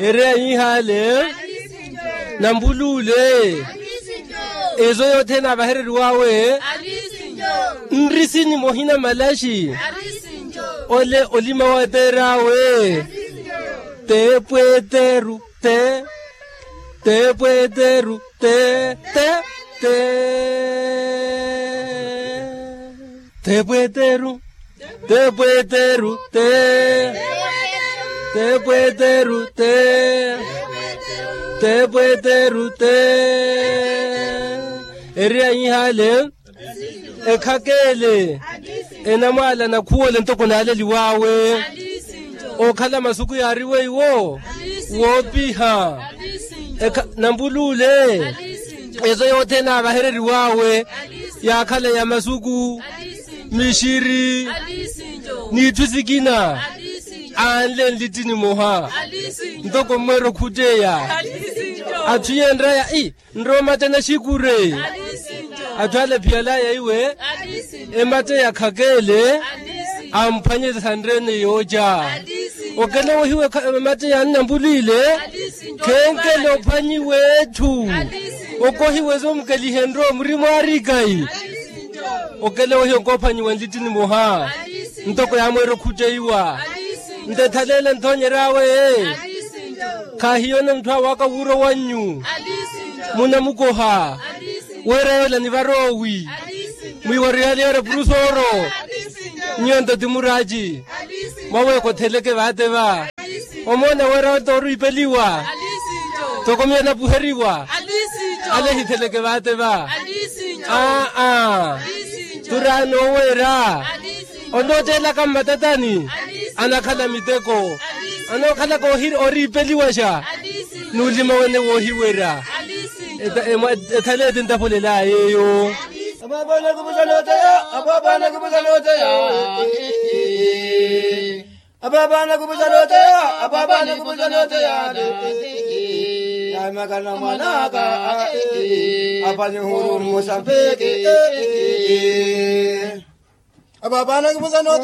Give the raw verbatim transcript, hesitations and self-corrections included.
Ereya yihale. Nampuluule. Ezo yothene avahereriwawe. Nrisini mohina malaxi. Ole olima wateerawe. Te pweteru te. Te pweteru te. Te. Te. Te pweteru. Te pweteru te. Te pweteru te. Te pweteru te. Ereya yihale. Ekhakeele. Enamwaala nakhuwole ntoko naaleliwawe. Okhala masuku yaariwe iwo. Woopiha. Nampuluule. Ezo yothene avahereriwawe. Yaakhala ya masuku, mixiri, n'itthu sikina. Anle nlitti nimoha. Ntoko mmweera okhutteya. Atthu yenraya i nrowa matte naxikure. Atthu ale phiyalaya iwe. Ematte yakhakeele. Amphwanye sanrene yooca. Okela wohiwe ematte yannampulwile. Khenkele ophwanyiwe etthu. Okohiwe zomukelihenryo muri mwaarikayi. Okela wohiwe nkoophwanyiwe nlitti nimoha. Ntoko yaamweera okhutteiwa. Nte thaleela nthoonyeryawe. Khaahiyona mutthu awaaka wuuro wannyu. Munamukoha. Weera yoola nivaroowi. Mwiiwarihaliyerya purusooro. Nyuwo nto ti muraaci. Mwaweeka otheleke vaate va. Omoona weera oto oriipeliwa. Toko miyo napuheriwa. Ale hitheleke vaate va. Aa. Turaano oweera. Onooteelaka mmatatani. Anakhala miteko. Anookhalaka oriipeliwaxa. N'ulima wene woohiwerya. Ethaleeti ntapholelaya yeeyo. Apaapana kupusa nooteya. Apaapana kupusa nooteya. Apaapana kupusa nooteya. Apaapana kupusa nooteya. Naimaka na mwanaka. Apani huru musambiki. Apaapana kupusa nooteya.